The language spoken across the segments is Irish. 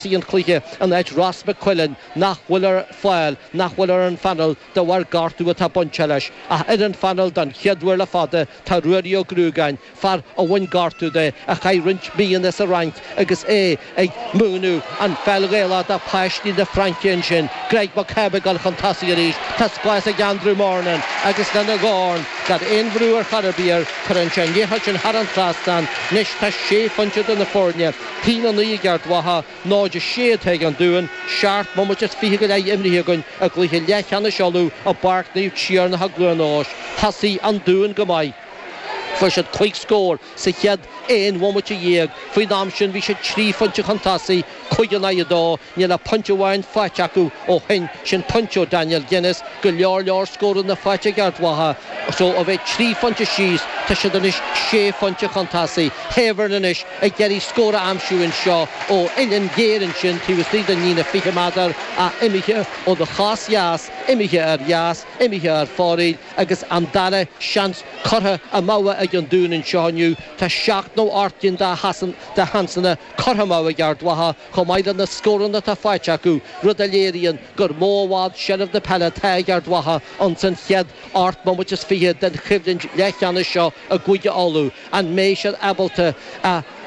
An chluiche in áit Ross McQuillan nach bhfuil ar fáil, nach bhfuil ar an phainéal de bharr gortú atá bainte leis. Ach ar an phainéal don chéad uair le fada tá Ruairí Ó Gruagáin, fear a bhain gortú de, a chaith roinnt míonna sa Fhrainc agus é ag múineadh an pheil Ghaelach do pháistí na Fraince ansin. Greg McCabe ag dul chun tosaigh arís. Tá spás ag Andrew Murnin agus lena dhorn, gan aon bhrú ar chor ar bith air, cuireann sé an liathróid sin thar an trasnán. Anois tá sé phointe idir na foirne. 1-9 ag Ard Mhacha, 0-6 atá ag an Dún, 17 mbomaite is 20 go leith imrithe againn i gcluiche leathcheannais Uladh i bPáirc Naomh Tiarnach i gCluain Eois. Thosaigh an Dún go maith. Fuair siad 5 scór sa chéad 11 bhomaite. Faoin am sin bhí siad 3 phointe chun tosaigh, 5 in aghaidh 2. Níl ach pointe amháin faighte acu ó shin, sin pointe ó Daniel Guinness. Go leor leor scóranna faighte ag Ard Mhacha so ó bheith 3 phointe síos tá siad anois 6 phointe chun tosaigh. Heavern anois ag iarraidh scór a aimsiú anseo ó uillinn ghéar ansin taobh istigh den líne 20 méadar ach imithe óna chos dheas, imithe ar dheas, imithe ar fóraoil agus an dara seans curtha amú ag an Dún anseo inniu. Tá seacht nó ocht gcinn de sheansanna curtha amú ag Ard Mhacha. chomh maith le na scóranna atá faighte acu, rud a léiríonn gur mó i bhfad seilbh na peile atá ag Ard Mhacha ins an chéad 28 mbomaite den choimhlint leathcheannais seo i gCúige Uladh. An mbeidh siad ábalta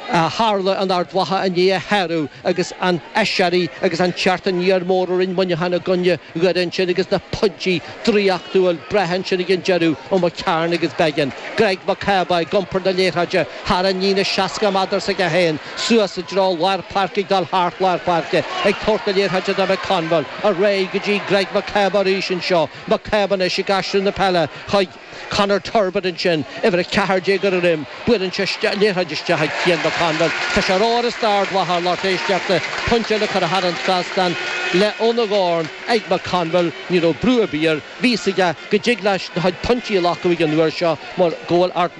a tharla in Ard Mhacha inné a shárú agus an aiséirí agus an teacht aniar mór a rinne Muineachán i gcoinne Dhoire ansin agus na pointí draíochtúil breátha ansin ag an deireadh ó McCarn agus Beggan. Greg McCabe ag iompar na liathróide thar an líne 60 méadar s'aige féin. Suas i dtreo lár páirce ag dul thart lár páirce ag tabhairt na liathróide do McConville. Ar aghaidh go dtí Greg McCabe arís anseo. McCabe anois ag aistriú na peile chuig Conor Turbitt ansin. Uimhir 14 ar a dhroim. Buaileann sé an liathróid isteach ag Cian McConville. Tá sé ar uireasa d'Ard Mhacha lucht éisteachta. Pointe eile curtha thar an trasnán le óna dhorn ag McConville. Ní raibh brú ar bith air. Bhí fhios aige go dtig leis a chuid pointí a ghlacadh ag an uair seo mar go bhfuil Ard.